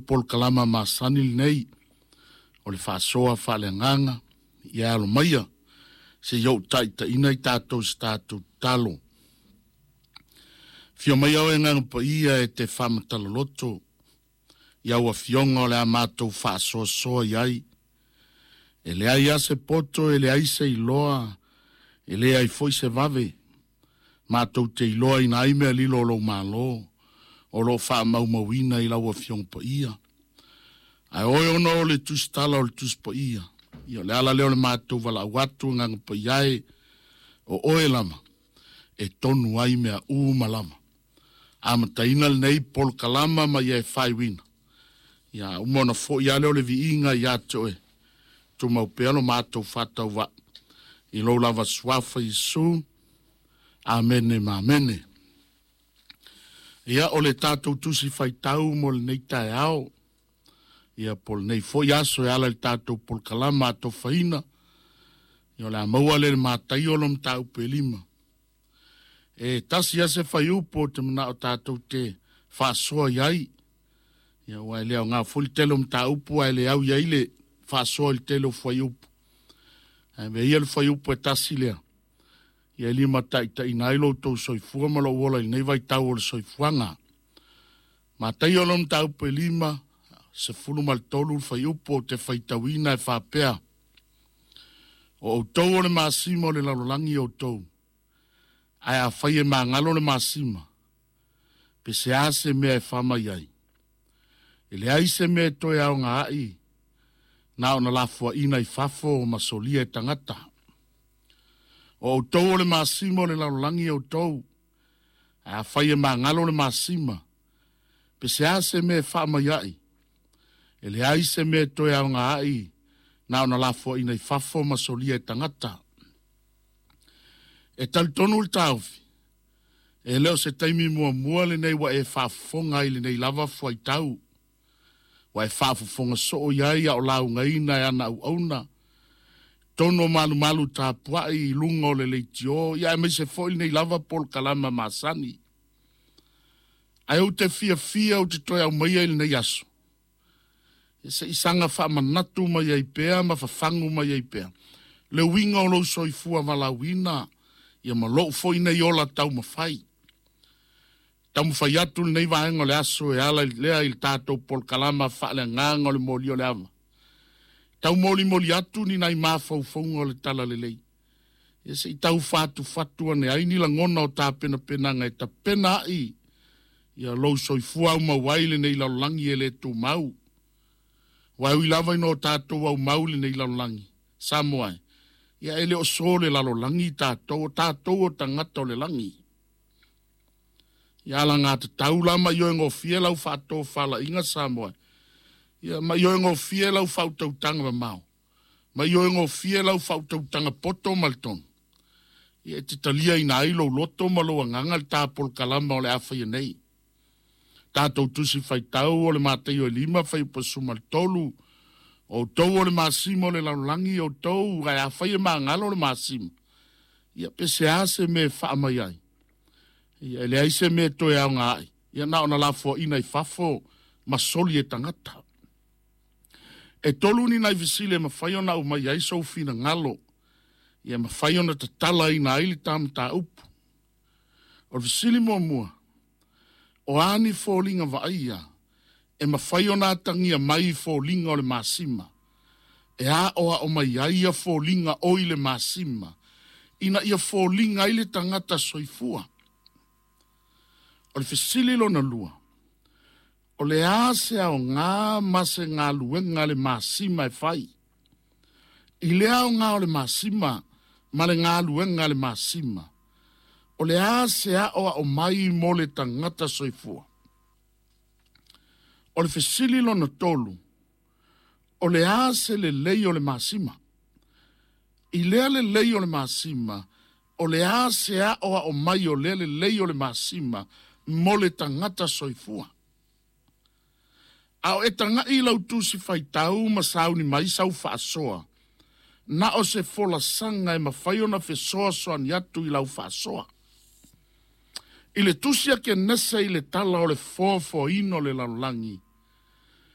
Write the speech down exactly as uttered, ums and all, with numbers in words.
polokalama masani lenei o le faasoa faaleagaga ia alo maia se i ou taitaina i tatou se tatou tatalo. Afio mai oe Agaga Paia e te faamatalaloto i au afioga o le a matou faasoasoa i ai. E leai a se poto, e leai se iloa, e leai foi se vave. Matou te iloaina ai mea lilo o lou malo, o lo o faamaumauina i lau afioga paia. Ae oe ona o le tusitala o le Tusi Paia. Ia o le ala lea o le matou valaau atu Agaga Paia e, o oe lava e tonu ai mea uma lava. Amataina lenei polokalama ma ia e faaiuina. Ia uma ona foi ale o le viiga ia te oe. Tumau pea lo matou faatauvaa i lou lava suafa Iesu. Amene ma amene. Ia o le tatou tusi faitau mo lenei taeao. Ia po o lenei foi aso e ala i le tatou polokalama atofaina. Ia o le a maua le Mataio lo mataupu e lima. E tasi lava se fuaiupu ou te manao tatou te faasoa i ai. Ia ua e le aoga foi le tele o mataupu ae le au i ai le faasoa i le tele o fuaiupu. Ae avea ia le fuaiupu e tasi lea. Ia e limataitaiina ai lo outou soifua ma lou ola i lenei vaitau o le soifuaga. Mataio lo mataupu e lima, sefulu ma le tolu le fuaiupu ou te faitauina e faapea. O outou o le masima o le lalolagi outou. Ae afai e magalo le masima, pe se a se mea e faamai ai. E leai se mea e toe aoga ai, na ona lafoaina i fafo ma solia e tagata. O outou o le masima o le lalolagi outou. Ae afai e magalo le masima, pe se a se mea e faamai ai. E leai se mea e toe aoga ai, na ona lafoaina i fafo ma solia e tagata. E talitonu le taofi, e le o se taimi muamua lenei ua e faafofoga ai lenei lava fuaitau. Ua e faafofoga soo i ai a o laugaina e ana auauna. Tonu o malumalu tapuai i luga o le leitio, ia aemaise foi lenei lava polokalama masani. Ae ou te fiafia ou te toe aumaia i lenei aso. E se isaga faamanatu mai ai pea ma fafagu mai ai pea. Le uiga o lou soifua valaauina, ia ma lou foi nei ola taumafai. Taumafai atu lenei vaega o le aso e ala lea i le tatou polokalama faaleagaga o le moli o le ava. Taumolimoli atu ni nai mafaufauga o le talalelei. Ia se i tau fatufatu ane ai ni lagona o tapenapenaga e tapena ai ia lou soifua aumau ai lenei lalolagi e le tumau. Ua ui lava ina o tatou aumau lenei lalolagi. Samoa e. Ia e le o so le lalolagi tatou, o tatou o tagata o le lagi. Ia alagatatau la ma ioe gofie lau faatofalaiga Samoa. Ia ma ioe gofie lau faautautaga mamao. Ma ioe gofie lau faautautaga poto ma le tonu. Ia e te taliaina ai lou loto ma lou agaga le tapolokalama o le a faia nei. Tatou tusi faitau o le Mataio e lima fuaiupu sefulu ma le tolu. O outou o le masima o le lalolagi outou, ae afai e magalo le masima. Ia pe se a se mea e faamai ai. Ia e leai se mea e toe aoga ai. Ia na ona lafoaina i fafo ma soli e tagata. E tolu ni nai fesili e mafai ona aumai ai sou finagalo. Ia mafai ona tatalaina ai le ta mataupu. O le fesili muamua, o a ni foliga vaaia e mafai ona atagia mai i foliga o le masima. E aoao mai ai ia foliga o i le masima, ina ia foliga ai le tagata soifua. O le fesili lona lua, o le a se aoga ma se galuega le masima e fai. I le aoga o le masima ma le galuega le masima, o le a se aoao mai mo le tagata soifua. O le fesili lona tolu, o le a se lelei o le masima. I lea lelei o le masima, o le a se aoao mai o lea lelei o le masima mo le tagata soifua. A o e tagai lau tusi faitau ma sauni mai sau faasoa, na o se folasaga e mafai ona fesoasoani atu i lau faasoa. I le tusi a Kenese i le tala o le foafoaina o le lalolagi,